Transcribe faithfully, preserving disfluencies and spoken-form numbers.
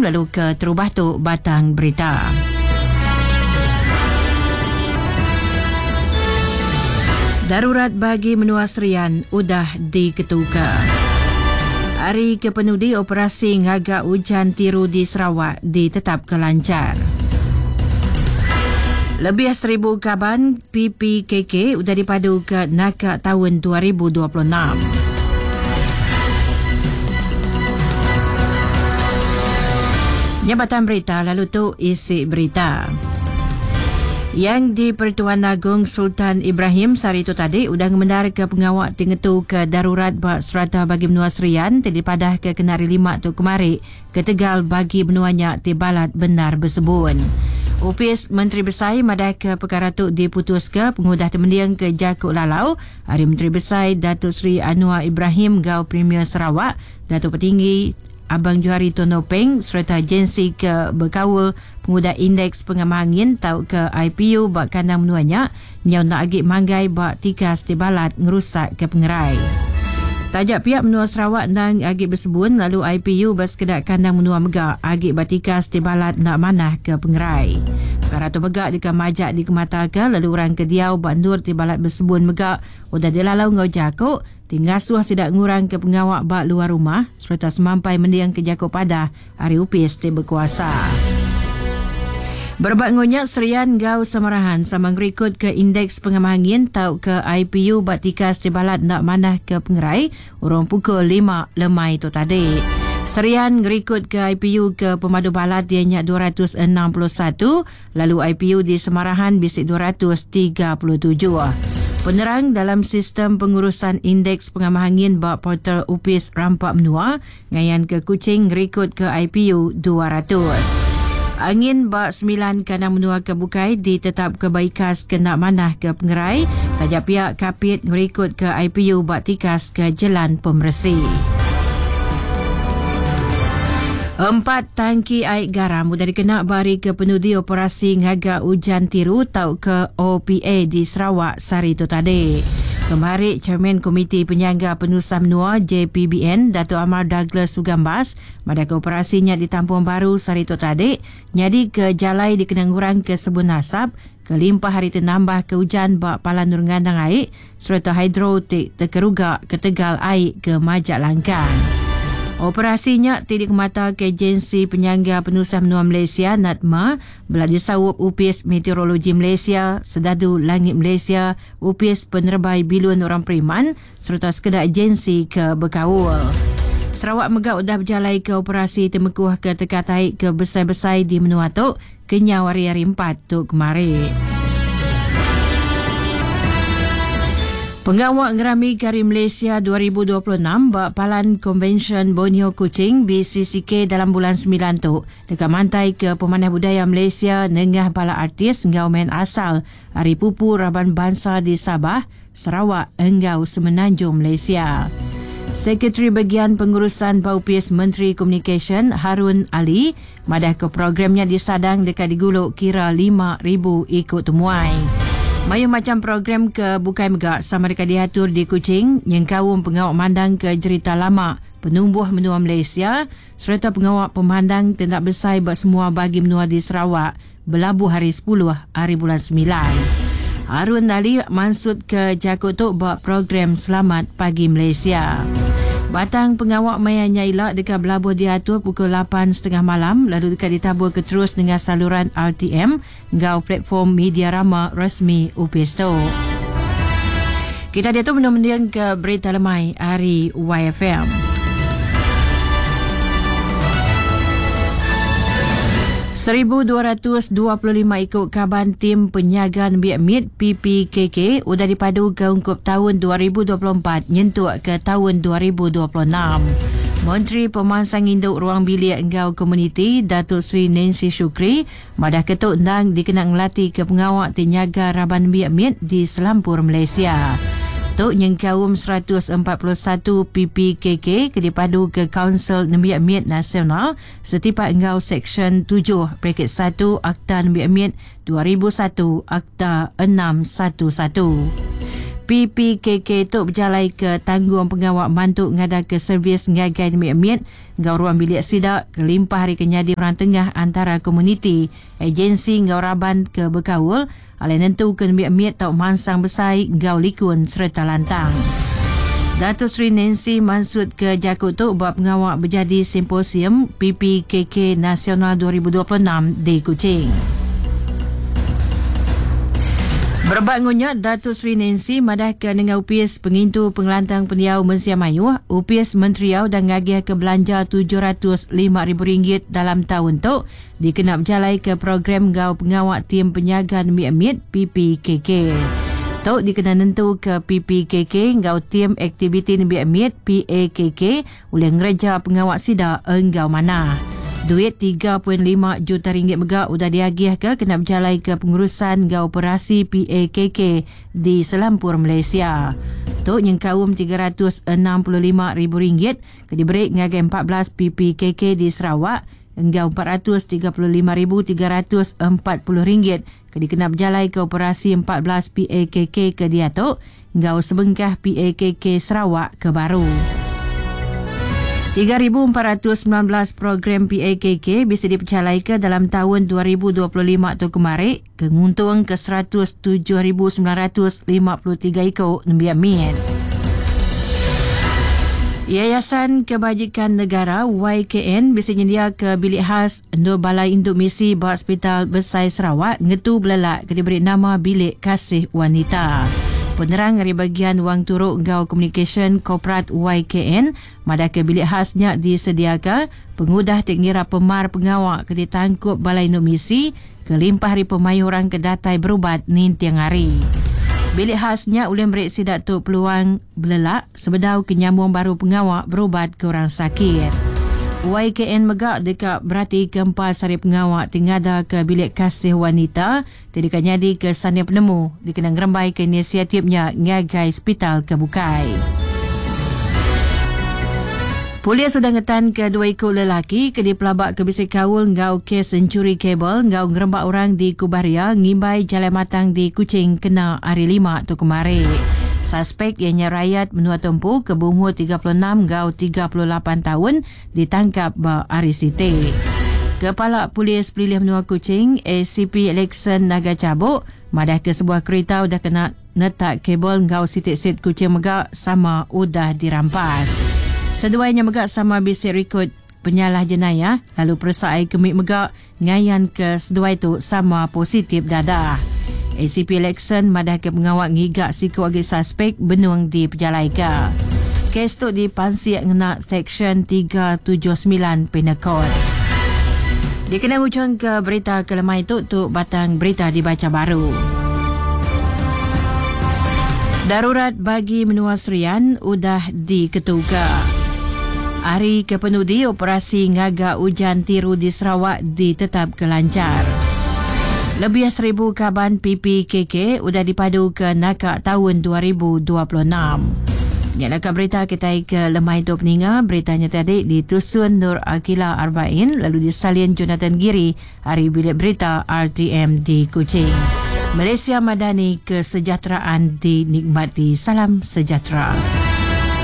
M lalu ke terubah tu Batang Berita. Darurat bagi menua Serian udah diketuka. Hari kepenudi operasi ngagak hujan tiru di Sarawak ditetap ke lancar. Lebih seribu kaban P P K K udah dipadu ke Naka tahun dua ribu dua puluh enam. Jabatan berita lalu tu isi berita. Yang di Pertuan Agong Sultan Ibrahim sehari itu tadi udah ngemendar ke pengawak tingetu ke darurat bak serata bagi menua Serian ti dipadah ke kenari lima tu kemari ke Tegal bagi menuanya ti balat benar bersebun. Upis Menteri Besai madah ke perkara tu diputus ke pengudah temendiang ke Jakuk Lalau Hari Menteri Besai Datuk Seri Anwar Ibrahim Gau Premier Sarawak Datuk Petinggi Abang Johari Tun Openg serta agensi ke berkaul pengudah indeks pengamah angin tau ke I P U bak kandang menuanya nyau nak agi manggai bak tikas ti balat ngerusak ke pengerai. Tajak pihak menua Sarawak nang agi bersebun lalu I P U bersekedak kandang menua megak agi batikas ti balat nak manah ke pengerai. Perkara tu megak dika majak dikemataka lalu orang ke diau bak nur ti balat bersebun megak udah dilalau ngau jakuk tinggal suah sidak ngurang ke pengawak bak luar rumah serta semampai mendiang ke jakuk padah hari upis ti berkuasa. Berbak ngonyak Serian Gau Samarahan sama ngerikut ke indeks pengamah angin tau ke I P U bak tikas ti balat nak manah ke pengerai urang pukul lima lemai tu tadi. Serian ngerikut ke I P U ke pemadu balat dia nyak dua ratus enam puluh satu lalu I P U di Samarahan bisik dua ratus tiga puluh tujuh. Penerang dalam sistem pengurusan indeks pengamah angin bak portal Upis Rampak Menua ngayan ke Kuching ngerikut ke I P U dua ratus. Angin bak sembilan kandang menua ke Bukai ditetap ke Baikas kena manah ke Pengerai. Tajak pihak Kapit ngerikut ke I P U bak tikas ke Jalan Pemersi. Empat tangki air garam sudah dikena bari ke penudi operasi ngagak hujan tiru tau ke O P A di Sarawak sehari itu tadi. Kemarin, Chairman Komiti Penyangga Penusah Menua J P B N Dato' Amar Douglas Ugambas pada operasinya di Tampung Baru sehari itu tadi nyadi ke jalai dikenang orang ke sebun asap kelimpah hari ternambah ke hujan bak palan nurngandang air serta hidro terkeruga ke Tegal air ke Majak Langkang. Operasinya tidak mata ke Agensi Penyangga Penusah Menua Malaysia N A D M A belah disawup Upis Meteorologi Malaysia, Sedadu Langit Malaysia, Upis Penerbai Bilun Orang Periman serta sekedar agensi ke Bekaul. Sarawak megak udah berjalai ke operasi temekuh ke Tekatai ke besai-besai di Menua Tok kenyau hari-hari empat tu kemarin. Pengawak Ngerami Kari Malaysia dua ribu dua puluh enam bak Palan Konvensyen Borneo Kuching B C C K dalam bulan sembilan tu dekat mantai ke Pemanah Budaya Malaysia nengah bala artis ngau main asal Hari Pupu Raban Bangsa di Sabah, Sarawak enggau Semenanjung Malaysia. Sekretari Bagian Pengurusan Baupis Menteri Komunikasi Harun Ali madah ke programnya disadang dekat diguluk kira lima ribu ikut temuai. Mayu macam program ke Bukai Megak sama dekat diatur di Kuching yang kaum pengawak mandang ke cerita lama penumbuh menua Malaysia serta pengawak pemandang tindak besar buat semua bagi menua di Sarawak berlabuh hari sepuluh hari bulan sembilan. Harun Ali maksud ke Jakut tu buat program Selamat Pagi Malaysia. Batang pengawak maya nyailak dekat berlabuh diatur pukul lapan tiga puluh malam lalu dekat ditabur ke terus dengan saluran R T M ngau platform media rama resmi U P S T O. Kita dia tu mendiang ke berita lemai hari Y F M. seribu dua ratus dua puluh lima ikut kaban tim penyagaan Biak M I D P P K K udah dipadu ke ungkup tahun dua ribu dua puluh empat nyentuk ke tahun dua ribu dua puluh enam. Menteri Pemansang Induk Ruang Bilik Enggau Komuniti Datuk Seri Nancy Shukri madah ketuk endang dikenang ngelatih ke pengawak tinyaga Raban Biak M I D di Selampur Malaysia. Tok nyengkaum seratus empat puluh satu P P K K ke dipadu ke Kaunsil Nembiak M I D Nasional setipak enggau Seksyen tujuh bracket satu Akta Nembiak M I D dua ribu satu Akta enam satu satu. P P K K tu berjalai ke tanggung pengawak mantu ngada ke servis ngagai nemik-emit ngau ruang bilik sidak kelimpah hari kenyadi orang tengah antara komuniti, agensi ngau raban ke berkaul alai nentu ke nemik-emit tau mansang besai ngau likun serta lantang. Dato' Sri Nancy maksud ke jakut tu buat pengawak berjadi simposium P P K K Nasional dua ribu dua puluh enam di Kuching. Berebak ngunyat, Dato' Sri Nancy madah ke dengan upis pengintu pengelantang pendiau Mensia Mayuh, upis Menteriau dan ngagih ke belanja tujuh ratus lima ribu ringgit dalam tahun tu dikenap berjalai ke program gau pengawak tim penyaga nemik-emit P P K K. Tok dikena nentu ke P P K K ngau tim aktiviti nemik-emit P A K K oleh ngereja pengawak sida enggau mana. Duit tiga perpuluhan lima juta ringgit megak udah diagih ke kena berjalai ke pengurusan ngau operasi P A K K di Selampur Malaysia. Tok nyengkaum tiga ratus enam puluh lima ribu ringgit ke diberi ngagai empat belas P P K K di Sarawak enggau empat ratus tiga puluh lima ribu tiga ratus empat puluh ringgit ke dikena berjalai ke operasi empat belas P A K K ke diatok enggau sebengkah P A K K Sarawak ke baru. tiga ribu empat ratus sembilan belas program P A K K bisa dipercalai ke dalam tahun dua ribu dua puluh lima tu kemarin, kenguntung ke seratus tujuh ribu sembilan ratus lima puluh tiga ikut nembiak mian. Yayasan Kebajikan Negara Y K N bisa nyendia ke bilik khas untuk Balai Induk Misi ba Hospital Besai Sarawak ngetu belelak ke diberi nama Bilik Kasih Wanita. Penerang dari bagian Wang Turuk Gau Communication Korporat Y K N madah ke bilik khasnya disediakan pengudah tengira pemar pengawak ke ditangkup Balai Induk Misi kelimpah hari pemayu orang ke datai berubat nintiang hari. Bilik khasnya oleh merik sidak tu peluang belelak sebedau kenyambung baru pengawak berubat ke orang sakit. Y K N megak dekat berarti keempat sari pengawak tingada ke bilik kasih wanita tidak nyadi ke sana penemu dikena ngerembai ke inisiatifnya ngagai hospital kebukai. Polis sudah ngetan ke dua ikut lelaki ke dipelabak ke bisik kaul ngau kes mencuri kabel ngau ngerembak orang di Kubaria ngimbai Jalan Matang di Kuching kena hari lima tu kemarin. Suspek ianya rakyat menua tempu ke berumur tiga puluh enam ngau tiga puluh lapan tahun ditangkap ba hari Siti. Kepala Polis Pelilih Menua Kuching A C P Alexon Naga Cabuk madah ke sebuah kereta udah kena netak kabel ngau sitik-sit Kuching megak sama udah dirampas. Seduainya megak sama bisik rekod penyalah jenayah lalu peresai kemik megak ngayan ke seduai tu sama positif dadah. A C P Alexon madah ke pengawak ngigak siku agi suspek benung di Pejalaika. Kes tu dipansiak ngena Seksyen tiga tujuh sembilan Penal Code. Dikena hujung ke berita kelemah itu tu batang berita dibaca baru. Darurat bagi menua Serian udah diketuga. Hari kepenudi operasi ngagak hujan tiru di Sarawak ditetap kelancar. Lebih seribu kaban P P K K udah dipadu ke nakak tahun dua ribu dua puluh enam. Nyalakan berita kita ke lemai itu peninga. Beritanya tadi ditusun Nur Akila Arbain lalu disalin Jonathan Giri hari bilik berita R T M di Kuching. Malaysia Madani, kesejahteraan dinikmati. Salam sejahtera.